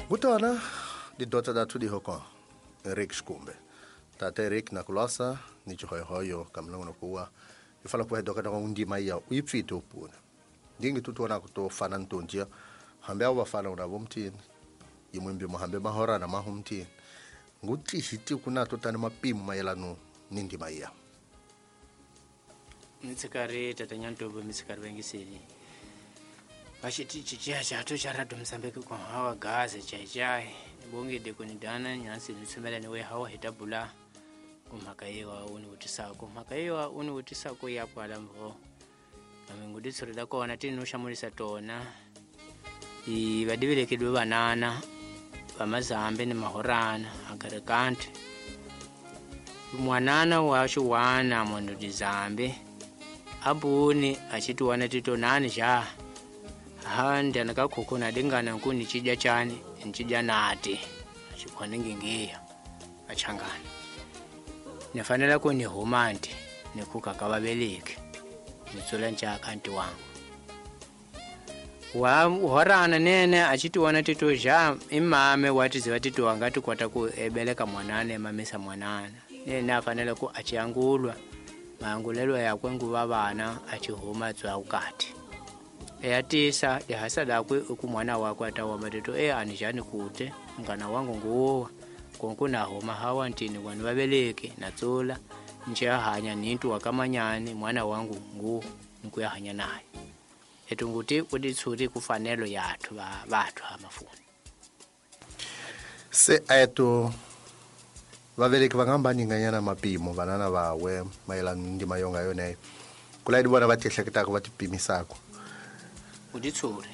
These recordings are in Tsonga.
Kutona didota dathu dihoko Eric Shikumbe. Tata Eric nakulasa ni chihoyohoyo kamlongo kuwa ifala kuwa doka na undima ya uipfite upuna. Ndingi tutona kutofana ntonjia hambe abo bafana unabo mtini. Imwimbi muhambe mahora na mahumtini. Nguti hiti kuna totani mapimo mayelano ni ndima ya. Mitsikari tata nyantobo mitsikari vengisini. Vachiti chichiya chato charadio Mozambique kwa hawa gaze chai nibongede kunidana nyansi nitsumela niwe hawa hitabula kumhaka yewa univutisako mhaka yewa univutisako yakwala mvo naminguditsuri kona tinuxamulisa tona i vadivilekedwe vanana vamazambe ni mahorana akarikante mwanana wa xiwana munhu dizambe abuni achitiwana titonani xa ha ndyana ka khukhu na dingana nku ni cidya chani ni cidya nati achikhwana ngingiya achangana ni fanele ku ni huma nti ni khuka ka vaveleki ni tsula ncaka nti wangu wa horana nene achitiwana tito ja imame watiziva tito angati kwata ku ebeleka mwanana emamisa mwanana nene afanele ku achiangulwa maangulelo yakwe nguva vana achihuma tswa ukati eyatisa lihasa lakwe ukumwana wakwe atawamba tito e anijani kute mngana wangu nguwa konku nahoma hawa ntini kwani vaveleki natsula nchiyahanya nintu wakamanyani mwana wangu ngu nkuyahanya naye etunguti kuditsuri kufanelo yathu vathu hamafuni Se eto vaveleki va nga nyinganyana mapimo vanana vawe mayelana ni ndima yonga yoneyo kulaidi vona va tiehleketaka va tipimisaka uditsuri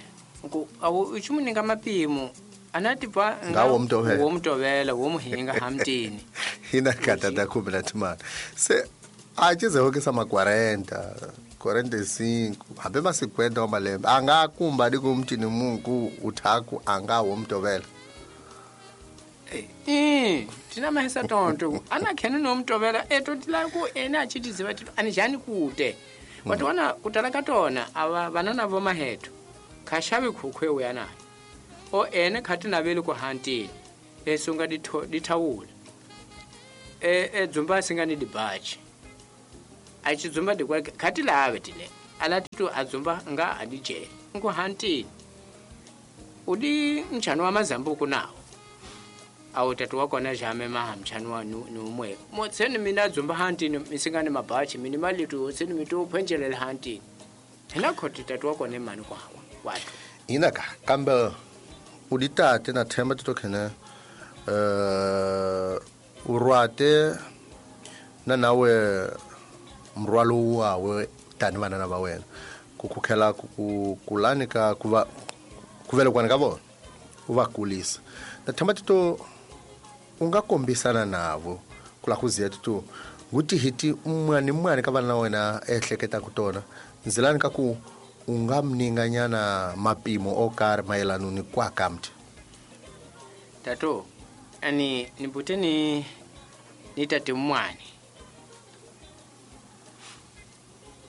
ku awu uchimuninga mapimo anati pa Nga wo mtovela. wo mtovela wo muhinga hamtini hina kata ta kumela timali se a cizehokisa ma 40 45 hambe ma 50 wa malembe a nga kumba di ku mtini munku uthaku a nga wo mtovela tina mahisa tonto ana khene no mtovela eto tila ku ena achitiziva tito anijani kute watiwana kutala katona ava vanana vo mahetho khashavi khukhwe uya nayo o ene khati naveli ku hantini esunga dithawula e dzumba singani dibachi achidzumba dikwa khati lave tile ala titu adzumba nga adijele nku hantini udi mchano wa mazambuku nawo awu tatu wakona jame maha mchano wa numwe motseni mina dzumba hantini misingani mabachi mini malitu otseni mitu uphenjelela hantini hina khoti tatu wakona imani kwawa watu inaka kambe uditate na themba tito khene urwate na nawe mrwalo wawe tani vanana va wena ku khukhela ku kulani ka kuva kuvelekwana ka vona u va kulisa na themba tito u nga kombisana navo ku la ku ziya tito nguti hiti un'wana ni un'wana ka vana na wena ehleketaka tona ndzilani ka ku u nga mninganyana mapimo o karhi mayelana ni kwaka mthi tato ani nibute ni tate mmwane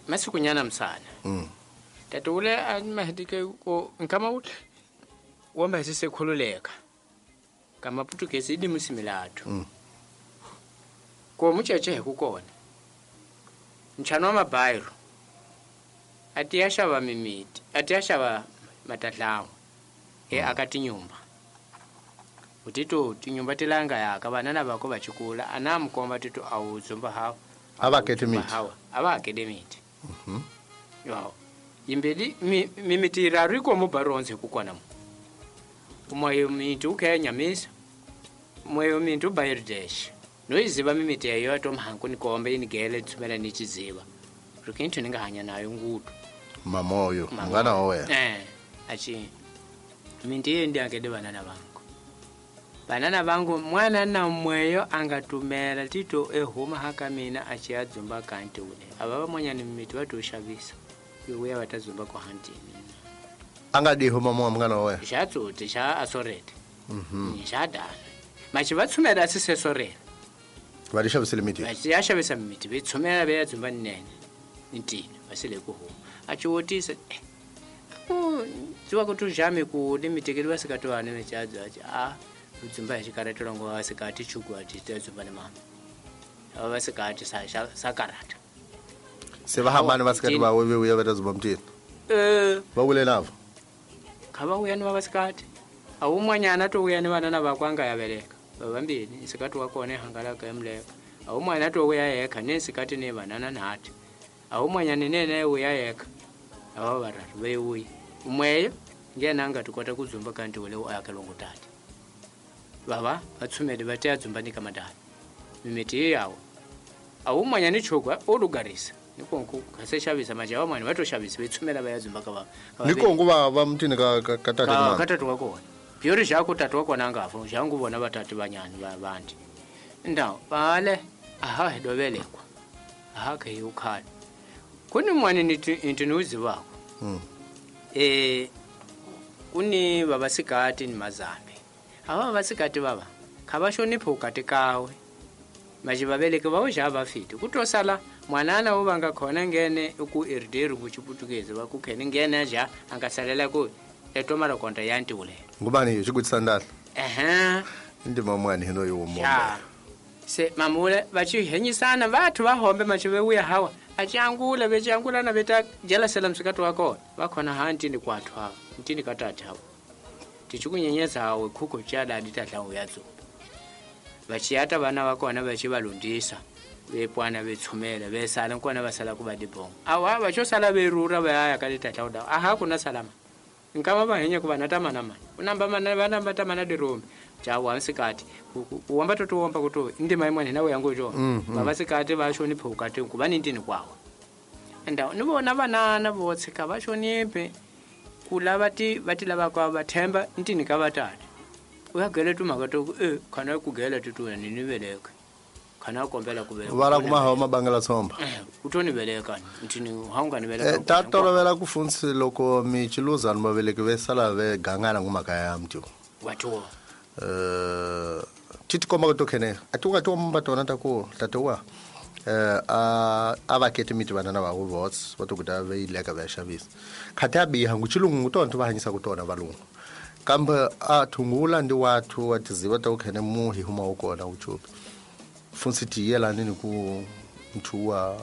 masikunyana msana tato ule animahitike ko nkama ule wamba sisekhululeka kama putukezi idi musimilathu ko mucheche kukona mchano wa mabairo atiyashava mimiti atiyashava matadlawo e akati nyumba utito tinyumba tilanga yaka vanana vako vachikula anamukomba tito awudzumba hawa Avakete miti. hawa avakete miti yawo yimbeli mimiti iraru ikomo baronze kukwana mu umwayo miti ukhenyamisa mwayo miti ubayirdesh noyiziva mimiti yayo atomhanku nikombe inigele tsumela nichiziva rikinthu ningahanya nayo ngudu mamoyo mngana wa wena achi minti ye ndiakede vanana vangu vanana vangu mwana na mweyo angatumela tito ehuma haka mina achiyadzumba kanti ule ava vamwanyani mimiti vatoxavisa yovuya vatadzumba ku hantini anga diho mamoya mngana wa wena xa tsuti xa asorete xa dana machi va tshumela asisesorela va di xavisele miti vachi ya xavisa mimiti ve tshumela ve ya dzumba nnene ntini va sele ku huma a ci wotisa ku Tiwa ku tujame ku ni mitekeli va sikati vane michadzo achi a udzumba hi xikarata longo va sikati chuku ati ta dzumba ni mama. Ava va sikati sa sa karata. Se va hambana va sikati va we vuya va ta dzumba mutini. Eh, Va wule navo. Kha va vuya ni va vasikati. A wun'wanyana to vuya ni vanana vakwe a nga ya veleka. Va vambirhi, nsikati wa kona hangalaka emuleka. A wun'wana to vuya yekha ni nsikati ni vanana nhati. A wun'wanyana nene vuya yekha. Ava vararu ve vuya. Umweyo ngena a nga ti kota ku dzumba ka ntiwo lewu a yakelongo tati. Vava va tshumele va teya dzumba ni ka madala. Mimiti yi yawa. A wun'wanyana chokwa o lugarisa. Ni konku kha se xavisa majaha van'wana va to xavisa ve tshumela va ya dzumba ka va. Ni konku va va mutini ka ka ka tati ka ka tati wa kona. Byori jaku tati wa kona nga fa jangu vona va tati vanyani va vandi. Ndaw pale aha hi dovelekwa. Aha ke yukhale. Kuni mwani ni inti nuzi wako. Eh kuni baba sikati ni mazambi. Ava vasikati vava kha va hloniphi ukati kawe. Maji vaveleki va ja va fiti kutosala mwanana wo vanga khona ngene ku irderu ku chiputukezi va ku khene ngene ja anga salela ku etomara konta yanti ule. Ngubani xikutisa ndahla. Ehe. Ndima mwani hino yo mombe. Ja. Se mamule va chi henyisana vathu va hombe machi ve uya hawa achangula vechangula na veta jelasela msikati wa kona va khona ha ntini kwathu hawa ntini katati hawa tichikunyenyeza hawe khuko chadadi tatla uya dzumba vachiyata vana va kona vachi valundisa vepwana vetshumela vesala nkona vasala ku va dibongo awa vachosala verura vaya ka letatla uda aha kuna salama nkava va henya ku vana tamana mani unamba mana vana va tamana dirombe jawa nsikati kuwamba totiwomba kuti ndima imwe nawe yangu jo baba sikati va hloniphe ukati ku va ni ntini kwawa nda ni vona vanana vo tshika va hloniphe ku lava ti va ti lava kwa va themba ntini ka vatati u ya gele tumhaka to ku e khana ku gele tituya ni ni veleka khana kombela ku veleka Va la kuma hawa mabangela tshomba. U to ni veleka ntini ha u nga ni veleka. Ta tolovela ku funsi loko mi chiluzani vaveleki ve sala ve gangana ngumhaka ya mntu. Wa tiwa. Ti ti komba ku to khene a ti nga tiomba tona ta ku tate wa a va kete miti vanana va ku vots va to kuta ve yileka va ya xavisa khati ya biha ngu chilungu tona ti va hanyisa ku tona valungu kambe a thungula ndi wathu wa tiziva ta ku khene mu hi huma wu kona wu chupi funsi ti yelani ni ku nthuwa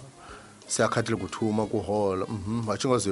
se a khatile ku thuma ku hola va xi nga ze